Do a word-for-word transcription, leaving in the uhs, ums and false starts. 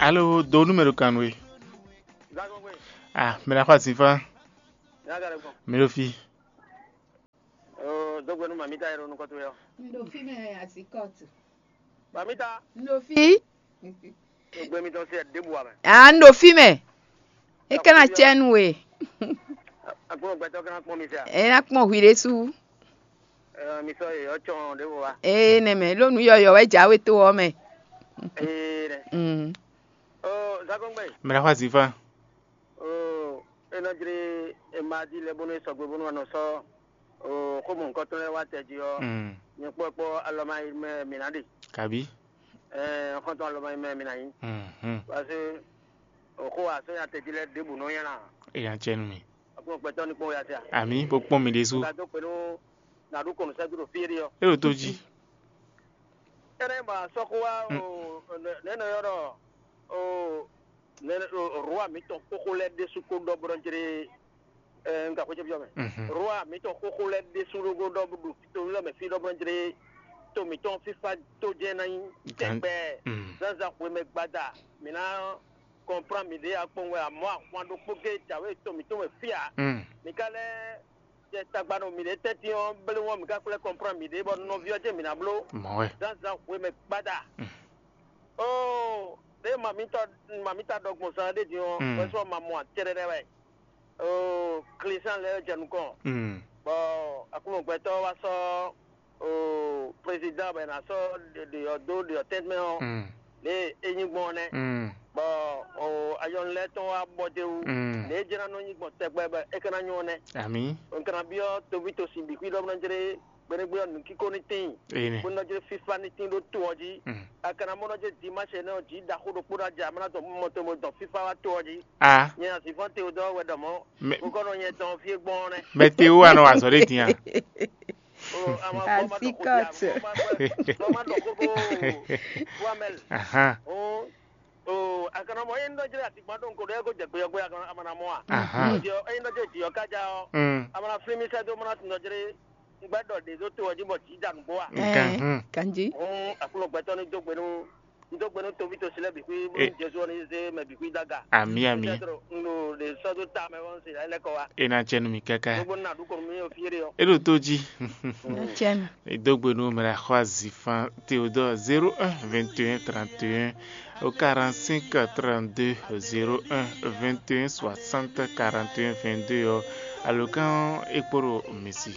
Alo, do nú mɛ ɖo kan nú we. Zagongwe, Ah, mɛ ɖo axɔ asinfã. Nyaga ɖe gbɔn. Mɛ ɖo fí. Oo, dó gbe nú mamita e ɖo nukɔn towe ɔ́. Un ɖo fí mɛ, azikɔtu. Mamita, Un ɖo fí. Dó gbe mitɔn se ɖěbǔ wa mɛ. Ah, un ɖo fí mɛ. É ka ná cɛ nú we. Agbɔnɔ gbɛtɔ́ kana kpɔn mi se a? É ná kpɔn hwi ɖésú. Ɛ, mi sɔ yeyɔ cɔn ɖěbǔ wa. Ee, nɛ mɛ, ló nǔ yɔyɔ wɛ jǎwe to ɔ́ mɛ. Ee nɛ. Mm. Oo, Zagongbe. Mɛ ɖo axɔ asinfã. Oo, é nɔ jlí, é ma di lɛ bónú é sɔgbe bónú a nɔ sɔ́ oo, xó mɔ̌hunkɔtɔn lɛ́ɛ wá tɛ jí ɔ́, Mm. nyɛ kpɔ́ kpɔ́ alɔma yi mɛ mǐ ná ɖe. Kabi. Ɛɛ, xɔ́ntɔn alɔma yi mɛ mǐ ná nyí. Mhm. Parce que xó wa sɔ́ nya tɛ jí lɛ́ɛ ɖěbǔ nɔ nylá. Eya cɛ nú mi. Agbɔnɔ gbɛtɔ́ ní kpɔ́n ya tɛ a? Ami, bó kpɔ́n mi ɖésú. Ka dó kpɛ́ nú nǎɖú kɔnu sɛ́dúró fí éɖée ɔ́. É ɖo tó jí. Énɛ́ ba sɔ́ xó wá Mm. o, nɛ̌ nɔ ylɔ́ ɖɔ o, nɛ̌ o, rwa mǐtɔn xóxó lɛ́ɛ ɖésú kó ɖɔ bó nɔ jlé, ɛ, un ka xwé ce byɔ́ mɛ. Mhm. Rwa mǐtɔn xóxó lɛ́ɛ ɖésú ɖó kó ɖɔ bó ɖo to lɛ́ɛ mɛ fí ɖɔ bó nɔ jlé to mǐtɔn fífá tó jɛ́n ná nyí Gan- tɛgbɛ Mm. zǎnzǎn hwemɛ gbada. Mǐ ná kɔnplán mǐɖée akpɔ́n wɛ amɔ̌ ahwan ɖokpó géé jǎwe to mǐtɔn mɛ fí ǎ. Mm. Mǐ ka lɛ́ jɛ tagba nɔ mǐɖée tɛ́ntin ɔ́, blé wɔn mǐ ka kplɛ́ kɔnplán mǐɖée bɔ nɔví ɔ́ jɛ́n mǐ ná bló Mɔ̌ wɛ. zǎnzǎn hwemɛ gbada. Mm. Oo, ɖěe mamítɔ mamíta ɖɔ gbɔn zán ɖé din ɔ́, Mm. wɛ sɔ́ ma mɔ acɛɖɛɖɛ wɛ. Oo, Klísan lɛ́ɛ jɛ nukɔn, Mm. bɔ Aklúnɔ gbɛtɔ́ wá sɔ́ oo, prezidán bɔ è nǎ sɔ́ ɖe ɖe ɔ́ dó ɖe ɔ́ tɛ́nmɛ ɔ́, Mm. lě e é nyí gbɔn ɔ́ nɛ́. Mm. Bɔ oo, ayɔnu lɛ́ɛ tɔn wá bɔ d'é wú. Mm. Lě e é jlá nɔ nyí gbɔn tɛgbɛ bɔ é ka ná nyɔ́ ɔ́ nɛ́. Amǐ. Un ka ná byɔ́ toví tosin bǐ xwí ɖɔ bó ná jlé gbeɖégbé ɔ́ nǔkíko ní tíin, Ene. bó ná jlé fífá ní tín ɖó to ɔ́ jí. Mm. A ka ná mɔ nɔ jɛ dimáṣɛ nɛ́ ɔ́ jí ɖaxó ɖokpó ná jɛ amlá tɔn mɔ to mo dɔn fífá wá to ɔ́ jí. A. Nyɛ Azivɔ́n Teodɔɔ wɛ ɖɔ mɔ̌. Mɛ- Nukɔn nɔ nyɛ tɔn fí e gbɔn ɔ́ nɛ́. Mɛ te wú anɔ azɔ ɖe din a? O, ama gbɔ ma dɔ xo Azikɔt. Dia, ma gbɔ ma dɔ xo ko Wamɛl. Ahan. O, o, a kana mɔ yen dɔ jere atikpa ɖo nko ɖe ko jɛ gbe yɔ gbe a kana ama na mɔ a. Ahan. Jɔ yen dɔ jere diɔ ka ja ɔ. Mm. Ama na fli mi sɛ do mana tun dɔ jere. N gbɛ dɔ ɖe do to ɔ ji bɔ ji da nugbo a. Nkan. Ɛɛ, Hmm. Kanji. Hun akulo gbɛtɔ ni do gbe nu. N do gbe nu tovi to silɛ bi xwi bo Eh. Jesu ni ze mɛ bi xwi daga. Ami, ami. Peut-être n ɖo ɖe sɔ do ta mɛ wɔn se la lɛ kɔ wa. E na cɛ nu mi kaka. Gbogbo na du ko mi o fiere yɔ. E ɖo to ji. Cɛn. E do gbe nu mɛ la xɔ azi fan Théodore zéro un vingt et un trente et un au quarante-cinq trente-deux, zéro un vingt et un soixante quarante et un vingt-deux ɔ. Alo kan e kpo ɖo mi si.